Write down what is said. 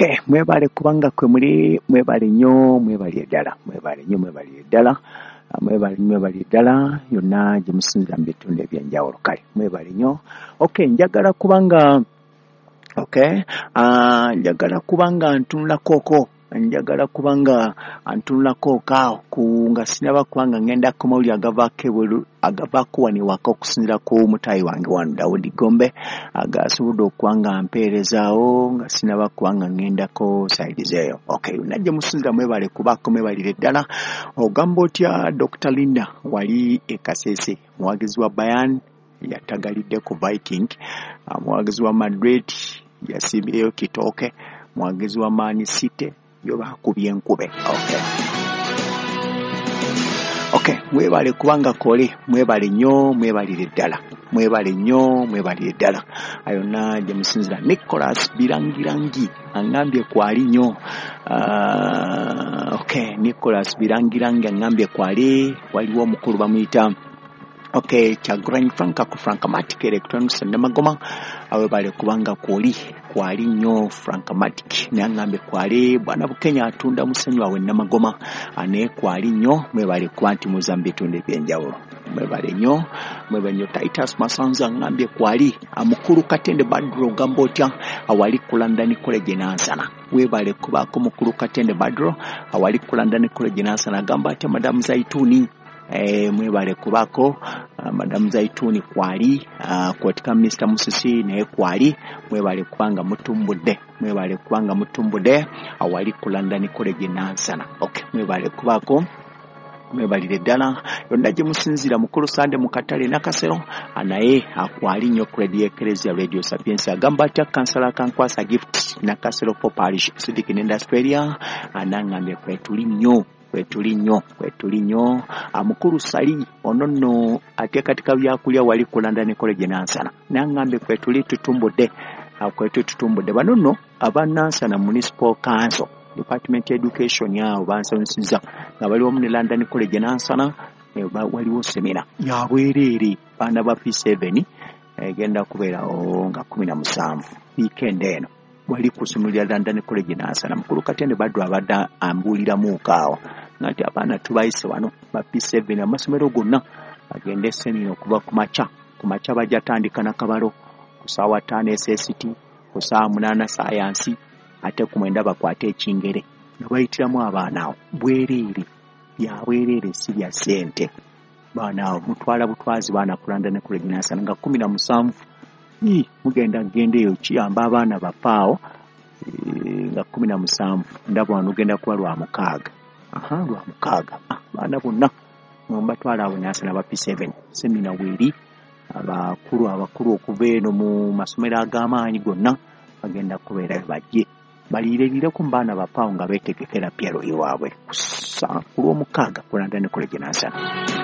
Okay, mwebale kubanga kwe muli, mwebale nnyo, mwebale ddala, mwebale nnyo, mwebale ddala, mwebale, mwebale ddala yonna gye musinzira mu bitundu ebyenjawulo. Kale mwebale nnyo. Okay, njagala kubanga okay, njagala kubanga ntunulakoko, njagala kubanga ntunulako kaawo ku nga sinaba kubanga ngenda ku mawulire agavaako ebweru, agavaako wano ewaka okusinziira ku mutaayi wange wano Dawudi Gombe agasobodde okuba nga mpeerezaawo nga sinaba kuba nga ngendako saidi eyo. Okay, yonna gye musinziira mwebale kubaako, mwebalire ddala. Ogamba otya Dr. Linda wali e Kasese, muwagizi wa Bayern yatagalidde ku Viking, muwagizi wa Madrid yasimbyeyo kitooke, muwagizi wa Man City yo bakubye enkube. Okay. Okay, mwebale kubanga kole, mwebale nnyo, mwebalire ddala, mwebale nnyo, mwebalire ddala. Ayonna gye musinzira. Nicholas Birangirangi aŋŋambye kwali nnyo. Okay, Nicholas Birangirangi aŋŋambye kwali, waliwo omukulu bamuyita okay, Kyagulanyi Frank ku Frankamatic Electronics Namagoma, awebale kubanga kwoli kwali nnyo Frankamatic, naye aŋŋambye kwali. Bwana Bukenya atunda musenyu wawe Namagoma, naye kwali nnyo. Mwebale kuba nti muza mu bitundu ebyenjawulo, mwebale nnyo, mwebale nnyo. Titus Masanza aŋŋambye kwali. Mukulu Katende Badru ogamba otya awali ku London College Nansana, webale kubaako mukulu Katende Badru awali ku London College Nansana. Agamba atya Madamu Zaituni? Mwebale kubaako Madamu Zaituni kwali, kwotika Mr. Musisi naye kwali. Mwebale kubanga mutumbudde, mwebale kubanga mutumbudde awali ku London College Nansana. Okay, mwebale kubaako, mwebalire ddala yonna gye musinziira. Mukulu Sande mu katale Nakasero naye akwali nnyo ku Radio Ecclesia, Radio Sapientia. Agamba atya Kansala Kankwasa Gift Nakasero for Parish Sidiki nenda Australia, anaŋŋambye kwetuli nnyo, kwetuli nnyo, kwetuli nnyo. Mukulu Sali ono nno ateekateeka byakulya wali ku London College Nansana, naŋŋambye kwetuli tutumbudde, kwetuli tutumbudde. Bano nno aba Nansana Municipal Council Department Education awo bansanyusiza nga bali wamu ne London College Nansana, waliwo semina ya bwereere baana ba P7 egenda kubeerawo nga 17 weekend eno wali ku ssomero lya London College Nansana. Mukulu Katende Badru abadde ambuuliramuuko awo nga nti abaana tubayise wano ba P7 amasomero gonna bagende semina okuva ku makya. Ku makya bajja tandika nakabalo ku ssaawa 5 SST, ku ssaawa 8 sayansi, ate ku 9 bakwate ekingere nga bayitiramu abaana awo bwereere, bya bwereere si bya ssente. Baana awo mutwala butwazi baana ku London College Nansana nga 17 mugenda genda eyo kiyamba abaana baffe awo nga 17. Ndaba wano ogenda kuba lwa mukaaga, aha, lwa mukaaga, baana bonna mbatwala awo Nansana ba P7 semina weeri. Abakulu abakulu okuva eno mu masomero ag'amaanyi gonna bagenda kubeerayo, bajje baliirerireko mu baana baffe awo nga beetegekera PLE waabwe ku lw'omukaaga ku London College Nansana.